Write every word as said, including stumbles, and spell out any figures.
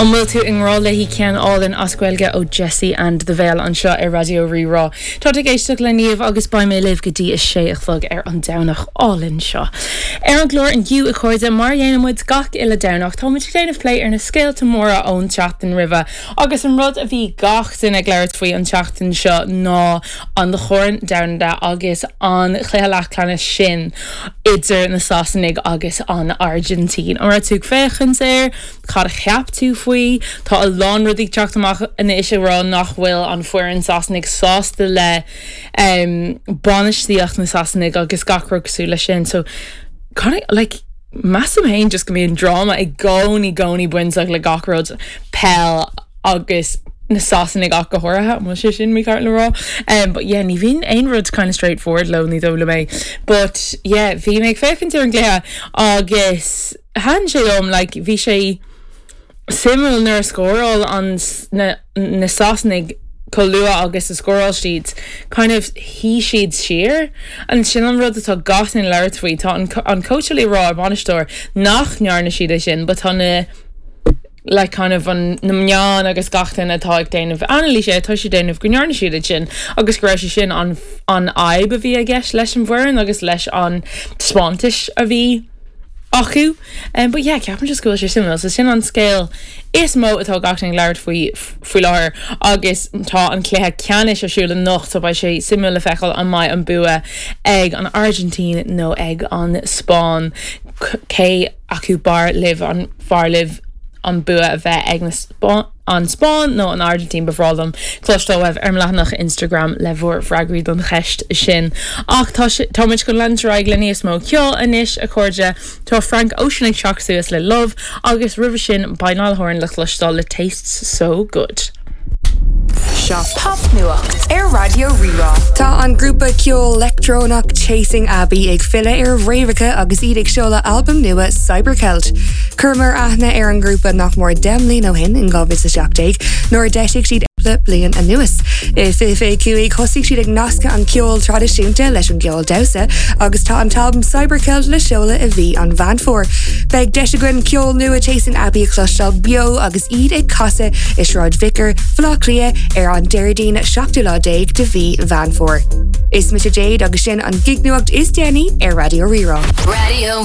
An bhfuil tú i ngrá léi ceann álainn as Gaeilge ó Jesse and the Veil anseo ar Raidió Rí-Rá. Tá ag éisteacht le Niamh agus beidh mé libh go dtí a sé a chlog ar an Domhnach álainn seo. Ar an gclár inniu a chairde mar a dhéanann muid gach uile Domhnach tá muid ag déanamh plé ar na scéalta móra ón tseachtain roimhe agus an rud a bhí gach duine ag labhairt faoi an tseachtain seo ná an Chorn Domhanda agus an cluiche leathcheannais sin idir na Sasanaigh agus an Argentín. An raibh tú ag féachaint air, cad a cheap tú faoi, Tá a lán rudaí ag teacht amach anois ag rá nach bhfuil an foireann Sasanaigh sásta le um, bainistíocht na Sasanaigh agus gach rud cosúil le sin. So kind of, like, measaim féin just go mbíonn dráma i gcónaí gcónaí bainteach le gach rud peil agus na Sasanaigh ach go háirithe bhfuil sé sin mícheart le rá. Um, but yeah, ní bhíonn aon rud kind of straightforward leo ní dóigh liom é. But yeah, bhí mé ag féachaint ar an gcluiche agus thaitin sé liom like, bhí sé suimiúil nuair a scóráil an na, na Sasanaigh chomh luath agus a scóráil siad kind of shuigh siad siar an sin an rud atá gach duine ag labhairt faoi tá an, an coach ag rá an bainisteoir nach ndearna siad é sin, but tá na like kind of an na meáin agus gach duine atá ag déanamh anailís é tá siad déanamh go ndearna siad é sin agus go raibh sé sin an an fhadhb a bhí i gceist leis an bhfoireann agus leis an taispeántas a bhí acu. Um, but yeah, ceapaim just go bhfuil sé suimiúil, so sin an scéal is mó atá gach duine ag labhairt faoi faoi láthair agus tá an cluiche ceannais ar siúl anocht so beidh sé suimiúil le feiceáil an mbeidh an bua ag an Argentín nó ag an Spáinn cé acu b'fhearr libh an fearr libh an bua a bheith ag na Spá an Spáinn nó an Argentín ba bhreá liom cloisteáil uaibh ar leathanach Instagram le bhur bhfreagraí don cheist sin. Ach tá táimid chun leanúint le níos mó ceoil anois a chairde tá Frank Ocean ag teacht suas le Love agus roimhe sin beidh Niall Horan le cloisteáil le Tastes So Good. Seo Popnuacht ar Raidió Rí-Rá. Tá an grúpa ceoil leictreonach Chasing Abbey ag filleadh ar fhréamhacha agus iad ag seoladh albam nua Cybercelt. Chuireamar aithne ar an grúpa nach mór deich mbliana ó shin in dhá mhíle seacht déag nuair a d'eisigh siad le bliain anuas. I fiche cúig thosaigh siad ag nascadh an ceol traidisiúnta leis an gceol damhsa agus tá an t-albam Cybercelt le seoladh i mhí an Mheán Fómhair. Beidh deis againn ceol nua Chasing Abbey a chloisteáil beo agus iad ag casadh i Sráid Vicar Bhaile Átha Cliath ar an Déardaoin seachtú lá déag de mhí Mheán Fómhair. Is mise Jade agus sin an gignuacht is déanaí ar Raidió Rí-Rá. Radio